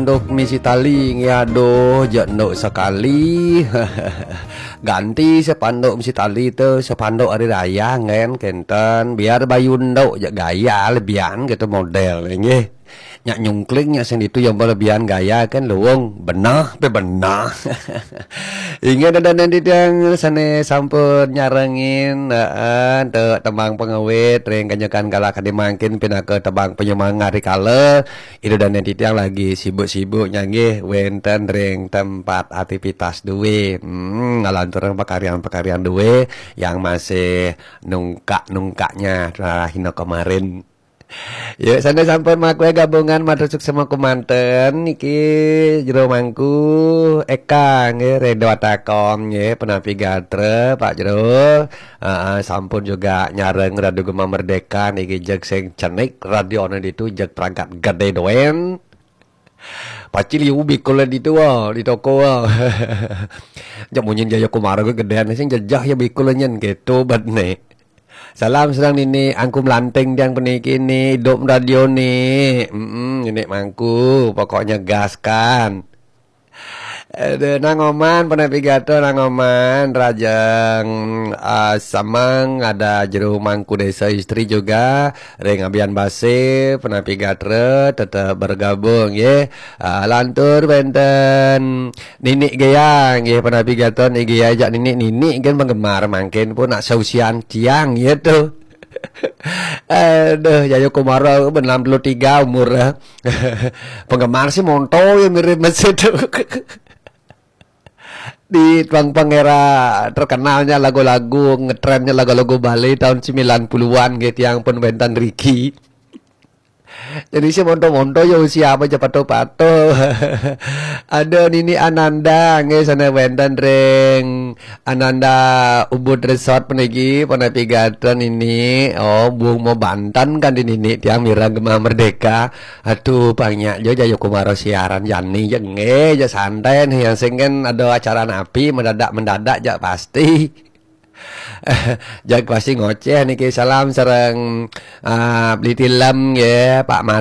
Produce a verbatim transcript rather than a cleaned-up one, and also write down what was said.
Spanduk misi tali nggih, aduh, jak nduk sekali. Ganti spanduk misi tali tu, spanduk hari raya ngen kenten. Biar bayu nduk jak gaya lebihan gitu model nggih. Nyak nyungkling nyak sing ditu yang lebihan gaya kan luwung benah pe benah. Inggih dadan titiang sane sampun nyarengin, heeh, tu tembang pengawit ring kanyekan kala kadi mangkin pinaka tembang penyemangat rikala Ida dane titiang lagi sibuk-sibuk nyanggih wenten ring tempat aktivitas due. Hmm, ngalanturang pakaryan-pakaryan due yang masih nungkak-nungkaknya rahina kemarin. Ya, sane sampun makwe gabungan matur suksema kumanten niki Jero Mangku Eka nggih, Redo Atakom nggih, penapi gatra Pak Jero. Heeh, sampun juga nyareng Radio Gema Merdeka niki jeg sing cenik radione ditu jeg perangkat gede doen. Pacil iu bikul di tu, di toko. Jak munyin Jaya Kumara ke gedean sing jejah ya bikul nyen gitu bet ne. Salam sareng Nini Angku Melanting tiang puniki ni, idup radio ni. Mm-mm, Nini Mangku, pokoknya gas kan. Aduh, Nang Oman, Penapi Gato, Nang Oman, Rajang, ah, Samang, ada Jero Mangku Desa Istri juga, Ring Abian Base, Penapi Gatra, tetap bergabung, ya. Ah, lantur wenten Nini Geyang, ya, Penapi Gato, Nini Geyang, jak Nini, Nini kan penggemar, mangkin pun nak seusian tiang, ya, tu. Aduh, Yayu Kumara, enam puluh tiga umur, eh. Penggemar sih monto, ya, mirip masih tu. Di tuang pengera terkenalnya lagu-lagu, ngetrennya lagu-lagu Bali tahun sembilan puluhan gitu, yang pun wenten Ricky. Jadi si monto-monto ya usia apa aja pato-pato. Ada Nini Ananda, nggih, sana wenten ring Ananda Ubud Resort puniki, Penapi Gatra Nini. Oh, buung mau Banten kan di Nini, tiang mireng Gema Merdeka. Aduh, pangnya jo Jayo Kumaro siaran jani, ya nggih, ya santai nih, yang sing kan ada acara napi mendadak-mendadak, jak pasti. Jak pasti ngoceh niki, salam sareng, ah, Beli Tilem nggih, Pak Made.